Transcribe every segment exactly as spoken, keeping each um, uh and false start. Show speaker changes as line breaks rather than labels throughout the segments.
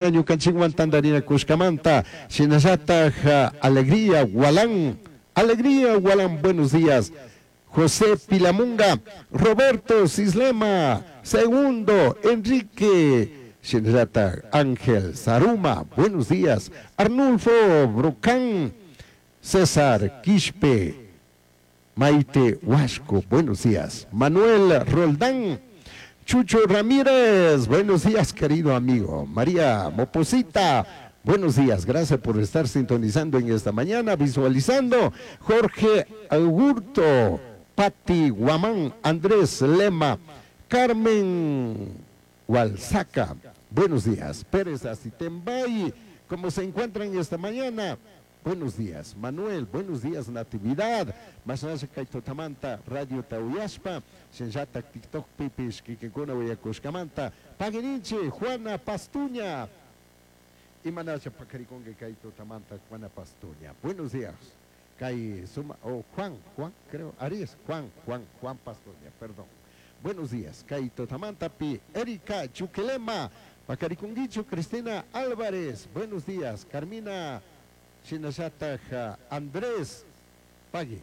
Ñukanchikwan tantarinakushkamanta shinallataj Alegría Gualán, Alegría Gualán, buenos días. José Pilamunga, Roberto Cislema, Segundo, Enrique, shinallataj Ángel Saruma, buenos días. Arnulfo Brocán, César Quispe, Maite Huasco, buenos días. Manuel Roldán, Chucho Ramírez, buenos días, querido amigo. María Moposita, buenos días, gracias por estar sintonizando en esta mañana, visualizando. Jorge Augurto, Pati Guamán, Andrés Lema, Carmen Hualzaca, buenos días. Pérez Asitembay, ¿cómo se encuentran esta mañana? Buenos días, Manuel. Buenos días, Natividad. Masnasha kay tutamanta, Radio Tauyaspa, Shinllata TikTok pipish, kikinkuna uyakushkamanta. Paguirinche, Juana Pastuña. Imanasha pakarikonge kay tutamanta, Juana Pastuña. Buenos días. Kay suma, oh, Juan, Juan, creo, Aries, Juan, Juan, Juan Pastuña, perdón. Buenos días, kay tutamanta pi, Erika Chuquelema, Pacariconguicho, Cristina Álvarez. Buenos días, Carmina Shinallataj Andrés Pagui,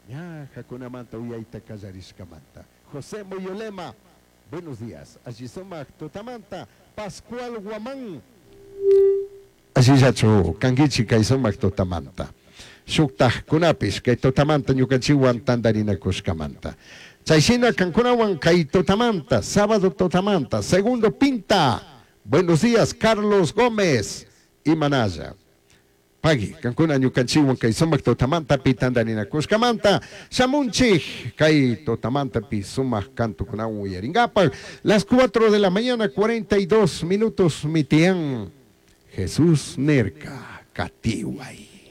ña hakunamanta uyayta kallarishkamanta. José Moyolema, buenos días. Allí sumak tutamanta, Pascual Guamán. Allillachu kankichi kay sumak tutamanta. Shuktajkunapish kay tutamanta ñukanchikwan tantarinakushkamanta. Chayshina kankunawan kay tutamanta, sábado tutamanta, segundo pinta. Buenos días, Carlos Gómez y Manaya. Pagui, kankuna ñukanchikwan kay sumak tutamanta pi tantarinakushkamanta, shamunchik kay tutamanta pi sumak kantukunawan uyarinkapak. Las cuatro de la mañana, cuarenta y dos minutos, mitián. Jesús Nerka, Katiway.